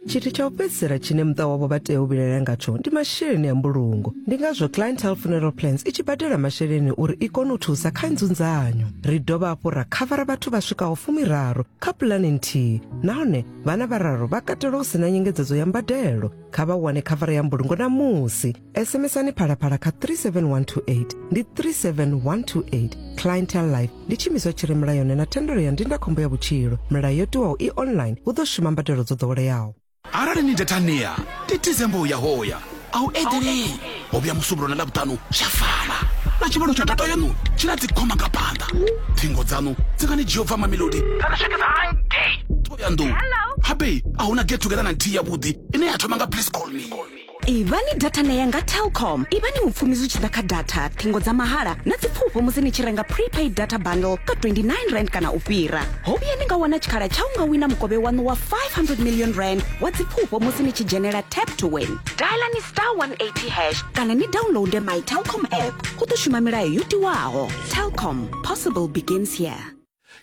Tshithu tsha u fhedzisela tshine muṱa wavho vha tea u vhilaela ngatsho ndi masheleni a mbulungo. Ndi ngazwo Clientele Funeral Plans i tshi badela masheleni uri i kone u thusa kha nzunzanyo. Ri dovha hafhu ra khavara vhathu vha swikaho fumiraru kha pulane nthihi nahone vhana vhararu vha katelwa hu si na nyengedzedzo ya mbadelo. Kha vha wane khavara ya mbulungo ṋamusi. SMSani Phalaphala kha 37128 ndi 37128. Clientele Life ndi tshiimiswa tshi re mulayoni na thendelo ya ndindakhombo ya vhutshilo. Milayo yo tiwaho i online, hu ḓo shuma mbadelo dzo ḓoweleaho. Arali ni dathania ndi December uya hoya a u eḓelei ho vhuya Musumbulowo na Ḽavhuṱanu zwa fana na tshivhalo tsha data yaṋu tshi na dzikhoma nga phanḓa ṱhingo dzaṋu dzi nga ni dzhia u bva Mamelodi dza ni swikisa hangei Thohoyandou habe a hu na get together na nthihi yavhuḓi ine ya thoma nga please call me. Ivhani data nea nga Telkom. Ivhani mupfumi zwi tshi ḓa kha data, ṱhingo dza mahala na dzipfufho musi ni tshi renga prepaid data bundle ka 29 rand kana u fhira. Ho vhuya ni nga wana tshikhala tsha u nga wina mukovhe waṋu wa 500 million rand wa dzipfufho musi ni tshi dzhenela Tap to Win. Dialani star 180 hash kana ni downloade my Telkom app. Hu ḓo shuma milayo yo tiwaho. Telkom, possible begins here.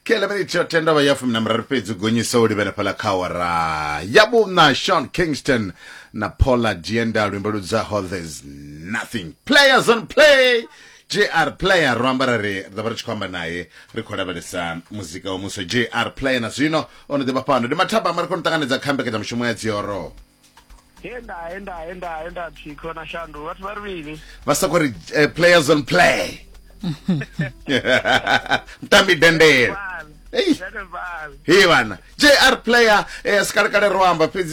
Kela miniti yo tenda vha ya fumi na miraru fhedzi u gonyisa u livhela fhaḽa kha awara ya vhuṋa. Sean Kingston na Paula Dienda luimbo lu dzaho There's Nothing. Players on Play, JR Player ro amba ra ri ri ḓo vha ri tshi khou amba naye ri khou lavhelesa muzika wa muswa. JR Player na zwino o no ḓi vha fhano. Ndi mathabama ri khou ni ṱanganedza kha mbekanyamushumo ya Dzioro. He nda he nda he nda he nda thikho na shandu vhathu vha ri mini? Vha soko ri players on play. Mutambi dendele. Ei. He vhana. JR Player sikalekale ro amba fhedzi.